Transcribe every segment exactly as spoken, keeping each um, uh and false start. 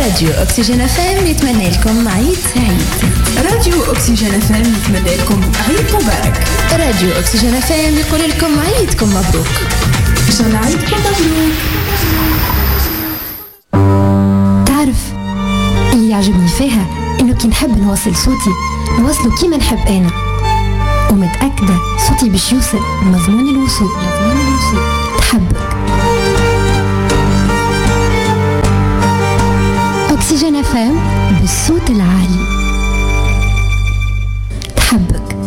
راديو أكسجين اف ام يتمنى لكم عيد سعيد. راديو أكسجين اف ام يتمنى لكم عيد مبارك. راديو أكسجين اف ام يقول لكم عيدكم مبروك. إن شاء الله عيدكم مبروك. تعرف اللي يعجبني فيها إنه كي نحب نوصل صوتي نوصله كيما نحب أنا، ومتأكدة صوتي باش يوصل مضمون الوصول. مضمون الوصول تحبك. أكسجين اف ام بالصوت العالي تحبك.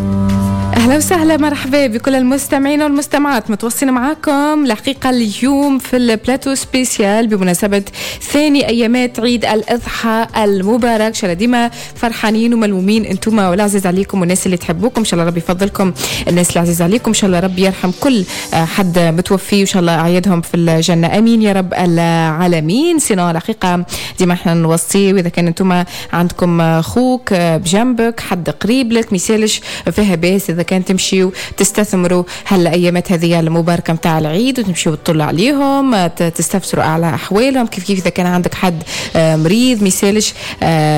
أهلا وسهلا، مرحبا بكل المستمعين والمستمعات، متوصلين معاكم الحقيقة اليوم في ال plateau spécial بمناسبة ثاني أيامات عيد الأضحى المبارك. إن شاء الله ديما فرحانين وملمومين انتوما والعزيز عليكم والناس اللي تحبوكم، إن شاء الله ربي يفضلكم الناس العزيز عليكم، إن شاء الله ربي يرحم كل حد متوفي وإن شاء الله أعيادهم في الجنة، أمين يا رب العالمين. sinon الحقيقة ديما احنا نوصي، وإذا كان انتوما عندكم خوك بجنبك، حد قريب لك، ميسالش فيها باس إذا كان تمشيوا تستثمروا هالأيامات هذه المباركة متاع العيد وتمشيوا تطلوا عليهم، تستفسروا على أحوالهم. كيف كيف إذا كان عندك حد مريض ميسالش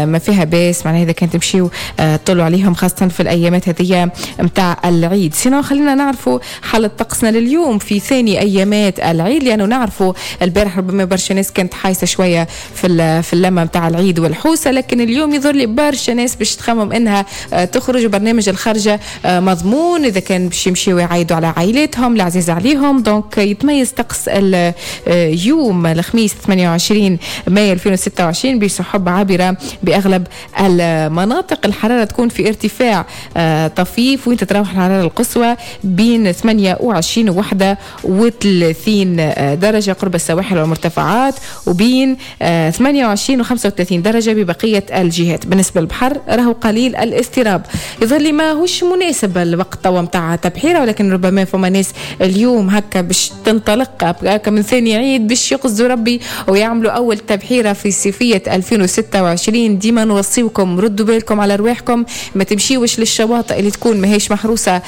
ما فيها باس، معناها إذا كان تمشيوا تطلوا عليهم خاصة في الأيامات هذه متاع العيد. sinon خلينا نعرفوا حالة طقسنا لليوم في ثاني أيامات العيد، لأنه نعرفوا البارح ربما برشا ناس كانت حايسة شوية في في اللمة متاع العيد والحوسة، لكن اليوم يظهر لي برشا ناس باش تخمم إنها تخرج. برنامج الخرجة مضمون إذا كان باش يمشيوا يعيدوا على عائلاتهم العزيز عليهم. donc يتميز طقس اليوم الخميس ثمانية وعشرين مايو ألفين وستة وعشرين بسحب عابرة بأغلب المناطق. الحرارة تكون في ارتفاع طفيف، وين تتراوح الحرارة القصوى بين ثمانية وعشرين و واحد وثلاثين درجة قرب السواحل والمرتفعات، وبين ثمانية وعشرين و خمسة وثلاثين درجة ببقية الجهات. بالنسبة للبحر راهو قليل الاضطراب، يظهر لي ما هوش مناسب الوقت توا متاع تبحيره، ولكن ربما فما ناس اليوم هكا باش تنطلق هكا من ثاني عيد باش يقصدوا ربي ويعملوا اول تبحيره في صيفية ألفين وستة وعشرين. ديما نوصيوكم ردوا بالكم على رواحكم، ما تمشيوش للشواطئ اللي تكون ماهيش محروسه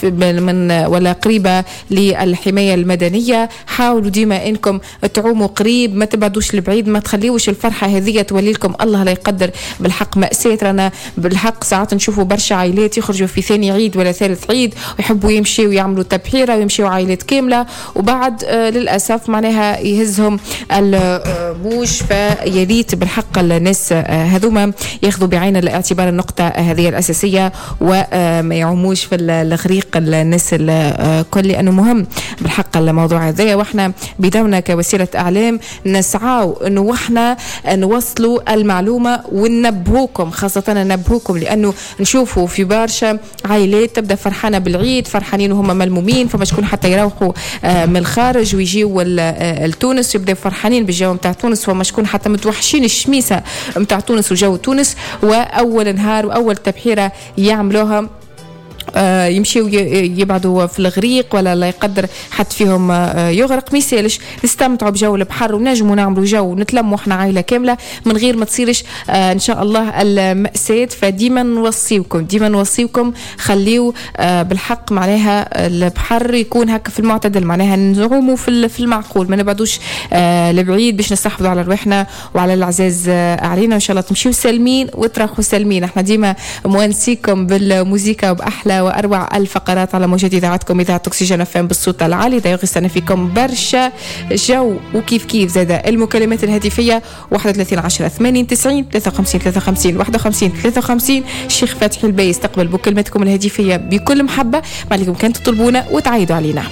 من ولا قريبه للحماية المدنية. حاولوا ديما انكم تعوموا قريب، ما تبعدوش لبعيد، ما تخليوش الفرحة هذه تولي لكم الله لا يقدر بالحق مأساة. رانا بالحق ساعات نشوفوا برشا عائلات يخرجوا في ثاني عيد ولا ثالث عيد ويحبوا يمشيوا ويعملوا تبحيره ويمشيوا عائلات كاملة، وبعد آه للاسف معناها يهزهم الموج. فياريت بالحق الناس آه هذوما ياخذوا بعين الاعتبار النقطة هذه الاساسية وما يعوموش في الغريق الناس الكل، لانه مهم بالحق الموضوع هذا. واحنا بدورنا كوسيلة اعلام نسعاو انه واحنا نوصلوا المعلومة وننبهوكم، خاصة ننبهوكم لانه نشوفوا في برشا عائلات تبدا فرحانة بالعيد، فرحانين وهم ملمومين، فما شكون حتى يروحوا من الخارج ويجيوا لتونس يبداو فرحانين بالجو نتاع تونس، وما شكون حتى متوحشين الشميسه نتاع تونس وجو تونس. واول نهار واول تبحيره يعملوها يمشيو يبعدوا في الغريق ولا لا يقدر حد فيهم يغرق. ميسالش نستمتعوا بجو البحر ونجموا نعملوا جو ونتلموا احنا عائلة كاملة من غير ما تصيرش ان شاء الله المأساة. فديما نوصيوكم ديما نوصيوكم خليو بالحق معناها البحر يكون هكا في المعتدل، معناها نعوموا في المعقول، ما نبعدوش لبعيد باش نستحفظوا على رواحنا وعلى العزاز علينا. وان شاء الله تمشيو سالمين وتروحوا سالمين. احنا ديما موانسيكم بالموسيقى وبأحلى وأروع الفقرات على موجات إذاعتكم إذاعة أكسجين اف ام بالصوت العالي. دا يغسلنا فيكم برشا جو. وكيف كيف زاد المكالمات الهاتفية واحد وثلاثين عشرة ثمانين تسعين ثلاثة وخمسين ثلاثة وخمسين واحد وخمسين ثلاثة وخمسين. الشيخ فتحي الباي يستقبل بكلماتكم الهاتفية بكل محبة، ما عليكم كان تطلبونا وتعيدوا علينا.